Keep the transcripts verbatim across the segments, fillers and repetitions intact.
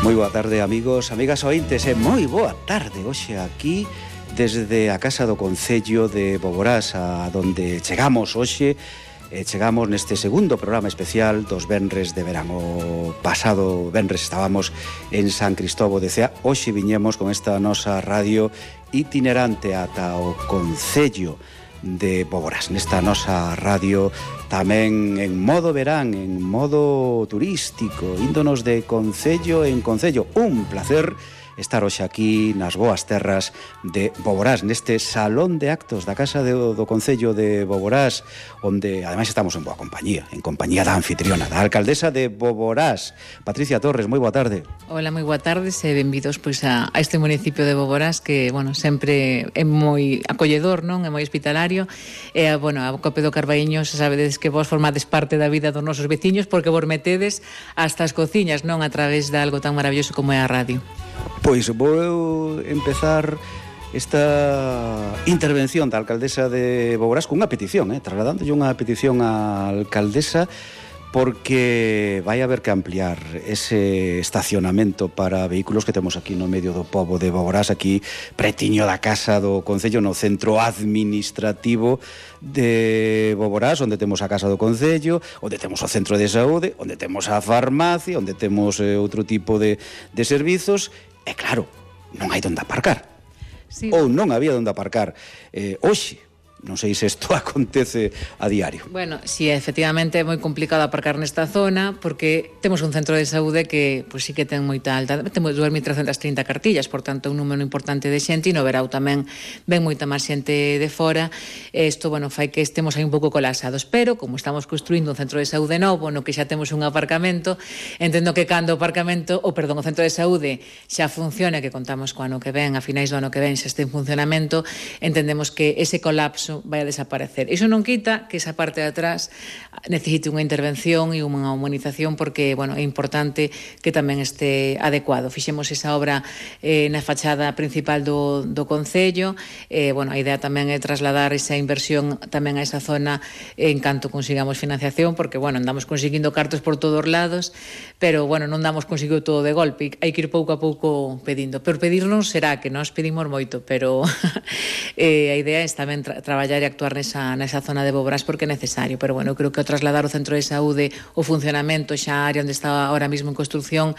Moi boa tarde, amigos, amigas ointes, e moi boa tarde hoxe aquí desde a Casa do Concello de Boborás, a donde chegamos hoxe. E chegamos neste segundo programa especial dos venres de verán. O pasado venres estábamos en San Cristóbal de Cea. Hoxe viñemos con esta nosa radio itinerante ata o Concello de Boborás. Nesta nosa radio tamén en modo verán, en modo turístico, índonos de concello en concello. Un placer estar hoxe aquí nas boas terras de Boborás, neste salón de actos da Casa do, do Concello de Boborás, onde ademais estamos en boa compañía, en compañía da anfitriona, da alcaldesa de Boborás, Patricia Torres. Moi boa tarde. Hola, moi boa tarde, e benvidos pois a, a este municipio de Boborás que, bueno, sempre é moi acolledor, non? É moi hospitalario. E, bueno, a Cope do Carbaíño, se sabedes que vos formades parte da vida dos nosos veciños porque vos metedes hasta as cociñas, non? A través de algo tan maravilloso como é a radio. Pois vou empezar esta intervención da alcaldesa de Boborás cunha petición, eh, trasladándolle unha petición á alcaldesa, porque vai haber que ampliar ese estacionamento para vehículos que temos aquí no medio do pobo de Boborás, aquí pretiño da Casa do Concello, no centro administrativo de Boborás, onde temos a Casa do Concello, onde temos o centro de saúde, onde temos a farmacia, onde temos eh, outro tipo de, de servizos. E claro, non hai onde aparcar. Sí. Ou non había onde aparcar. Eh, hoxe, non sei se isto acontece a diario. Bueno, si sí, efectivamente é moi complicado aparcar nesta zona, porque temos un centro de saúde que, pois, sí que ten moita alta, temos dous mil trescentas trinta cartillas, por tanto, un número importante de xente, e no verao tamén ven moita máis xente de fora. Isto, bueno, fai que estemos aí un pouco colapsados, pero como estamos construindo un centro de saúde novo, no que xa temos un aparcamento, entendo que cando o aparcamento, ou perdón, o centro de saúde xa funciona, que contamos co ano que ven, a finais do ano que ven xa este en funcionamento, entendemos que ese colapso vai a desaparecer. Iso non quita que esa parte de atrás necesite unha intervención e unha humanización, porque, bueno, é importante que tamén este adecuado. Fixemos esa obra eh, na fachada principal do, do Concello. Eh, bueno, a idea tamén é trasladar esa inversión tamén a esa zona en canto consigamos financiación, porque, bueno, andamos conseguindo cartos por todos lados, pero, bueno, non damos conseguido todo de golpe. Hai que ir pouco a pouco pedindo. Pero pedirnos será que nós pedimos moito, pero eh, a idea é tamén tra traballar e actuar nesa, nesa zona de Boborás porque é necesario, pero bueno, eu creo que ao trasladar o centro de saúde, o funcionamento xa a área onde está ahora mismo en construcción,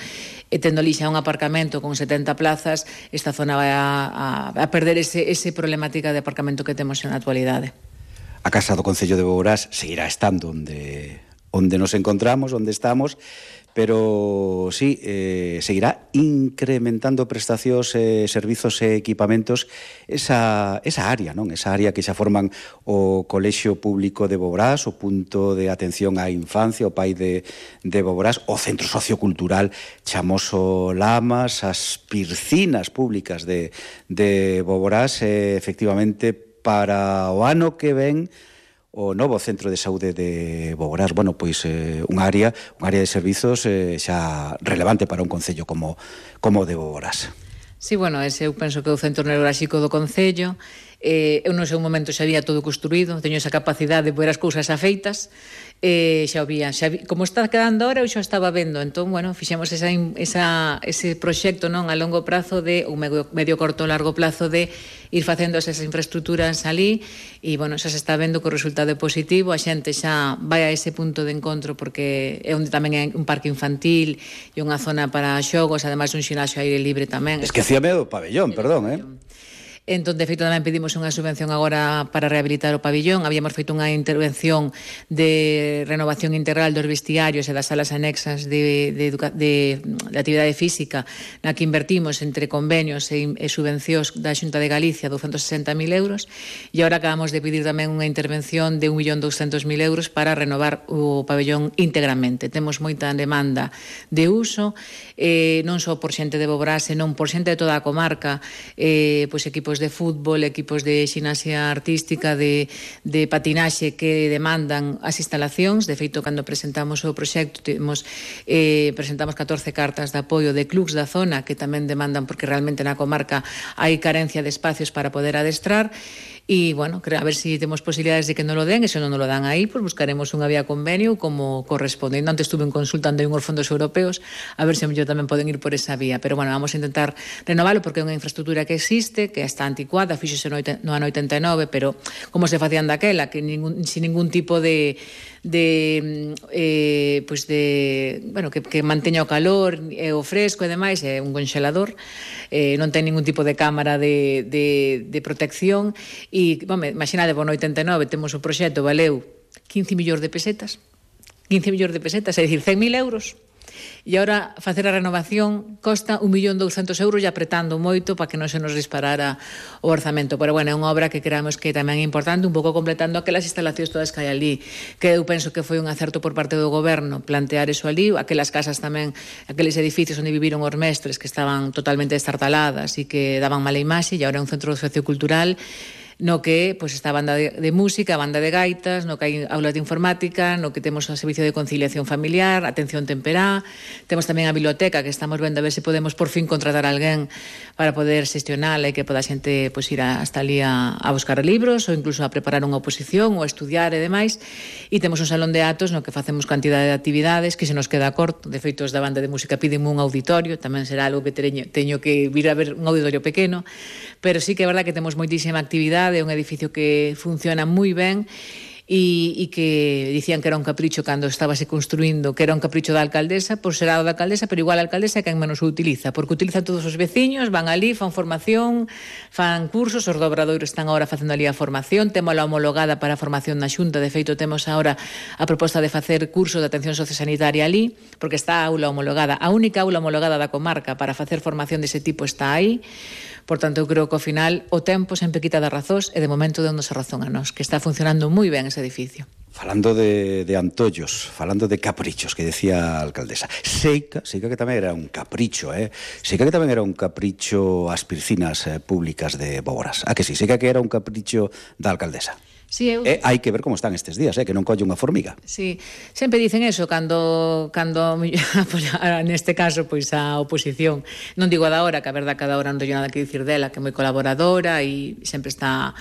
e tendo ali xa un aparcamento con setenta plazas, esta zona vai a, a, a perder ese, ese problemática de aparcamento que temos na actualidade. A Casa do Concello de Boborás seguirá estando onde, onde nos encontramos, onde estamos, pero sí, eh, seguirá incrementando prestacións, eh, servizos e equipamentos esa, esa área, non? Esa área que xa forman o Colexio Público de Boborás, o punto de atención á infancia, o Pai de, de Boborás, o Centro Sociocultural Chamoso Lamas, as piscinas públicas de, de Boborás. eh, efectivamente, para o ano que ven, o novo centro de saúde de Boborás, bueno, pois eh, unha área, unha área de servizos eh, xa relevante para un concello como como o de Boborás. Sí, bueno, ese eu penso que é o centro neurálxico do concello. Eh, eu no seu momento xa había todo construído, teño esa capacidade de ver as cousas afeitas, eh, xa había, xa vi, como está quedando ahora, eu xa estaba vendo, entón, bueno, fixemos esa, esa, ese proxecto, non, a longo prazo de, un medio, medio corto largo plazo de ir facendo esas infraestructuras ali, e, bueno, xa se está vendo que o resultado é positivo, a xente xa vai a ese punto de encontro, porque é onde tamén é un parque infantil e unha zona para xogos, ademais un xinasio aire libre tamén. Esquecíame do pabellón, perdón, eh? Entón, de feito, tamén pedimos unha subvención agora para rehabilitar o pabillón. Habíamos feito unha intervención de renovación integral dos vestiarios e das salas anexas de, de, de, de actividade física, na que invertimos entre convenios e, e subvencións da Xunta de Galicia douscentos e sesenta mil euros, e agora acabamos de pedir tamén unha intervención de un millón douscentos mil euros para renovar o pabillón íntegramente. Temos moita demanda de uso, eh, non só por xente de Boborás, senón por xente de toda a comarca, eh, pois equipos de fútbol, equipos de xinasia artística, de, de patinaxe que demandan as instalacións. De feito, cando presentamos o proxecto, temos, eh, presentamos catorce cartas de apoio de clubs da zona que tamén demandan, porque realmente na comarca hai carencia de espacios para poder adestrar. e, bueno, a ver se si temos posibilidades de que non lo den, e se non lo dan aí, pues buscaremos unha vía convenio como corresponde. Antes estuve en consultando en uns fondos europeos a ver se mellor tamén poden ir por esa vía, pero, bueno, vamos a intentar renovalo porque é unha infraestructura que existe, que está anticuada, fíxose no, no ano oitenta e nove, pero como se facían daquela, que ningún, sin ningún tipo de de eh, pues de, bueno, que, que manteña o calor e o fresco e demais, é un congelador, eh, non ten ningún tipo de cámara de, de, de protección e, bom, imaginade, no oitenta e nove temos o proxecto, valeu quince millóns de pesetas, quince millóns de pesetas, é dicir, cen mil euros. E agora facer a renovación costa un millón douscentos euros e apretando moito para que non se nos disparara o orzamento. Pero, bueno, é unha obra que creamos que tamén é importante, un pouco completando aquelas instalacións todas que hai ali, que eu penso que foi un acerto por parte do goberno plantear eso ali, aquelas casas tamén, aqueles edificios onde viviron os mestres que estaban totalmente destartaladas e que daban mala imaxe, e agora é un centro sociocultural no que pues, está a banda de, de música, a banda de gaitas, no que hai aulas de informática, no que temos o servicio de conciliación familiar, atención temperá, temos tamén a biblioteca que estamos vendo a ver se podemos por fin contratar a alguén para poder xestionala e que poda a xente pues, ir a, hasta ali a, a buscar libros ou incluso a preparar unha oposición ou a estudiar e demais. E temos un salón de atos no que facemos cantidade de actividades que se nos queda corto. De feito, os da banda de música piden un auditorio, tamén será algo que teño, teño que vir a ver un auditorio pequeno, pero sí que é verdad que temos moitísima actividade, é un edificio que funciona moi ben e, e que dicían que era un capricho cando estábase construindo, que era un capricho da alcaldesa, por ser da alcaldesa, pero igual a alcaldesa é quen menos o utiliza, porque utiliza todos os veciños, van ali, fan formación, fan cursos, os do Obradoiro están agora facendo ali a formación, temos a homologada para a formación na Xunta, de feito temos agora a proposta de facer curso de atención sociosanitaria ali, porque está a aula homologada, a única aula homologada da comarca para facer formación dese tipo está aí. Por tanto, eu creo que ao final o tempo sempre quita das razóns e de momento dándonos a razón a nós, que está funcionando moi ben ese edificio. Falando de, de antollos, falando de caprichos, que decía a alcaldesa, Seica, Seica que tamén era un capricho, eh? Seica que tamén era un capricho as piscinas eh, públicas de Boborás. A que sí, Seica que era un capricho da alcaldesa. Sí, eu... eh, hai que ver como están estes días, eh, que non colle unha formiga. Sí, sempre dicen eso cando, cando neste caso, pois a oposición, non digo a da hora, que a verdad que a da hora non teño nada que dicir dela, que é moi colaboradora e sempre está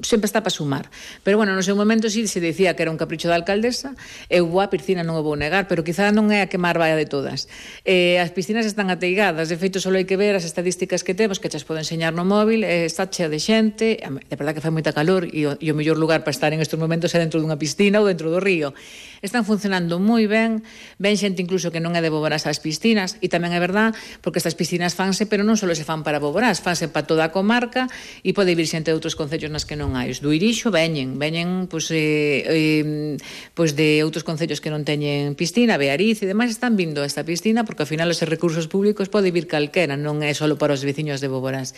sempre está para sumar. Pero, bueno, no seu momento sí se dicía que era un capricho da alcaldesa, eu a piscina non o vou negar, pero quizá non é a que máis vai de todas. Eh, as piscinas están ateigadas, de feito, só hai que ver as estadísticas que temos, que chas poden enseñar no móvil, eh, está chea de xente, de verdad que fai moita calor, e o, e o mellor lugar para estar en estes momentos é dentro dunha piscina ou dentro do río. Están funcionando moi ben, ven xente incluso que non é de Boborás as piscinas, e tamén é verdad, porque estas piscinas fanse, pero non só se fan para Boborás, fanse para toda a comarca, e pode vir xente de outros concellos nas que non hai. Os do Irixo veñen, veñen pois, eh, eh, pois de outros concellos que non teñen piscina, Beariz e demais, están vindo a esta piscina, porque ao final os recursos públicos pode vir calquera, non é só para os veciños de Boborás.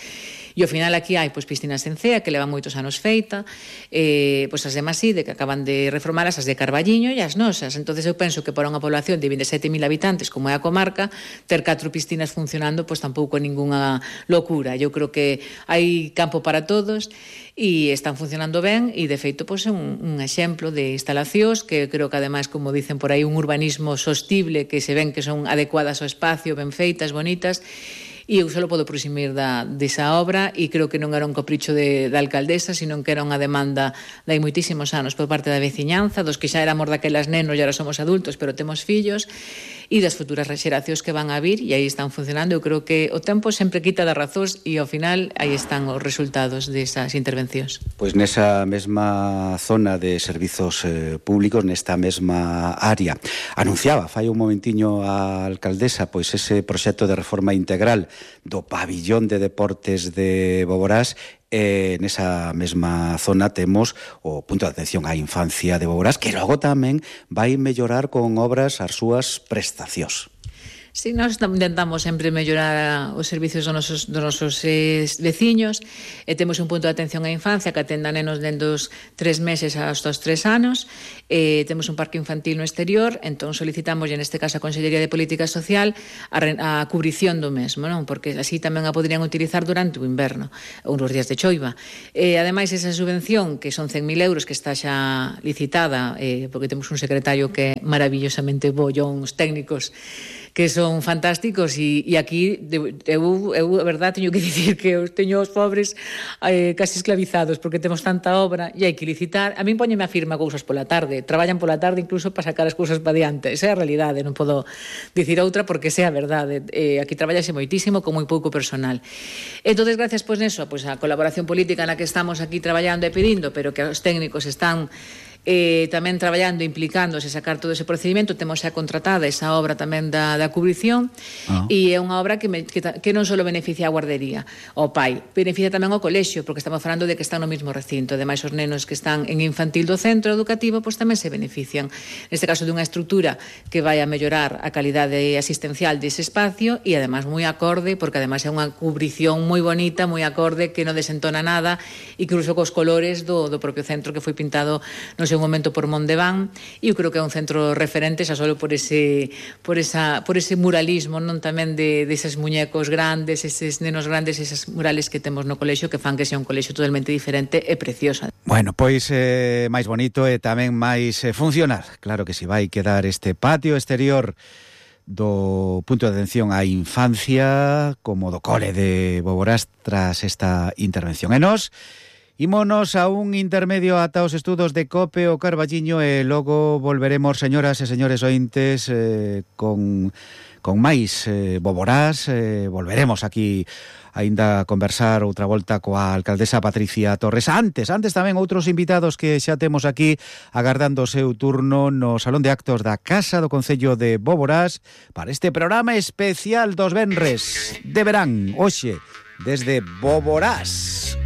E ao final aquí hai pois, piscinas en Cea, que levan moitos anos feita, eh, pois as de Maside, que acaban de reformalas, as de Carballiño e as nosas. Entonces eu penso que para unha población de vinte e sete mil habitantes, como é a comarca, ter catro piscinas funcionando, pois tampouco é ningunha locura. Eu creo que hai campo para todos e están funcionando ben e, de feito, pois é un, un exemplo de instalacións que creo que, ademais, como dicen por aí, un urbanismo sostible, que se ven que son adecuadas ao espacio, ben feitas, bonitas. E eu só podo presumir da, desa obra e creo que non era un capricho de, da alcaldesa, sino que era unha demanda de hai moitísimos anos por parte da veciñanza, dos que xa éramos daquelas nenos e agora somos adultos, pero temos fillos, e das futuras xeracións que van a vir, e aí están funcionando. Eu creo que o tempo sempre quita das razóns e ao final aí están os resultados desas intervencións. Pois nesa mesma zona de servizos eh, públicos, nesta mesma área, anunciaba fai un momentiño a alcaldesa pois ese proxecto de reforma integral do pabillón de deportes de Boborás. E nesa mesma zona temos o punto de atención á infancia de Boborás, que logo tamén vai mellorar con obras as súas prestacións. Si, nós intentamos sempre mellorar os servicios dos nosos, dos nosos eh, veciños, e temos un punto de atención á infancia que atenda nenos dende os tres meses hasta os tres anos, e temos un parque infantil no exterior, entón solicitamos, e neste caso a Consellería de Política Social, a, a cubrición do mesmo, non? Porque así tamén a poderían utilizar durante o inverno, ou nos días de choiva. E, ademais, esa subvención, que son cen mil euros, que está xa licitada, eh, porque temos un secretario que é maravillosamente bo, os técnicos, que son fantásticos e, e aquí eu, eu, a verdad, teño que dicir que eu teño os pobres eh, casi esclavizados porque temos tanta obra e hai que licitar. A min póñeme a firma cousas pola tarde, traballan pola tarde incluso para sacar as cousas para diante. Esa é a realidade, non podo dicir outra porque esa é a verdade. Eh, aquí traballase moitísimo con moi pouco personal. Entonces, gracias pois neso, pois a colaboración política na que estamos aquí traballando e pedindo, pero que os técnicos están eh, tamén traballando, implicándose, sacar todo ese procedimento. Temos xa contratada esa obra tamén da, da cubrición ah. e é unha obra que, me, que, que non só beneficia a guardería, ao pai, beneficia tamén ao colexio, porque estamos falando de que están no mesmo recinto. Ademais, os nenos que están en infantil do centro educativo pois tamén se benefician, neste caso dunha estrutura que vai a mellorar a calidade asistencial dese espacio e ademais moi acorde, porque ademais é unha cubrición moi bonita, moi acorde, que non desentona nada, incluso cos colores do, do propio centro que foi pintado no seu momento por Mondeván, e eu creo que é un centro referente xa solo por ese por esa por ese muralismo, non tamén de deses muñecos grandes, eses nenos grandes, esas murales que temos no colexio que fan que sea un colexio totalmente diferente e preciosa. Bueno, pois eh, máis bonito e tamén máis eh, funcional. Claro que si vai quedar este patio exterior do punto de atención á infancia como do cole de Boborás tras esta intervención. E nos ímonos a un intermedio ata os estudos de Cope o Carballiño e logo volveremos, señoras e señores ointes, eh, con, con máis eh, Boborás. Eh, volveremos aquí aínda a conversar outra volta coa alcaldesa Patricia Torres. Antes, antes tamén outros invitados que xa temos aquí agardando o seu turno no Salón de Actos da Casa do Concello de Boborás para este programa especial dos venres de verán, hoxe, desde Boborás.